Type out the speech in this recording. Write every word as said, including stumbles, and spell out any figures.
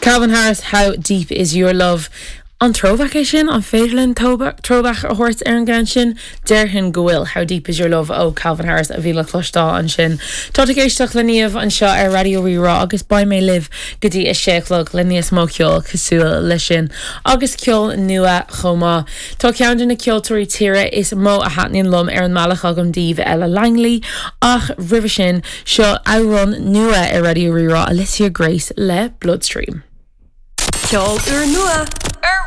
Calvin Harris, How Deep Is Your Love? An throwback é sin an féidir linn throwback a thabhairt ar an gceann sin, Déarfainn go bhfuil How Deep Is Your Love ó Calvin Harris a bhí le cloisteáil ansin. Tá ag éisteacht le Niamh anseo ar Raidió Rí-Rá agus beidh mé libh go dtí a sé a chlog le níos mó ceol cosúil le sin agus ceol nua chomh maith. Tá ceann de na ceoltóirí tíre is mó a thaitníonn liom ar an mbealach agam daoibh Ella Langley ach roimhe sin seo amhrán nua ar Raidió Rí-Rá Alicia Grace le Bloodstream. Ceol úrnua.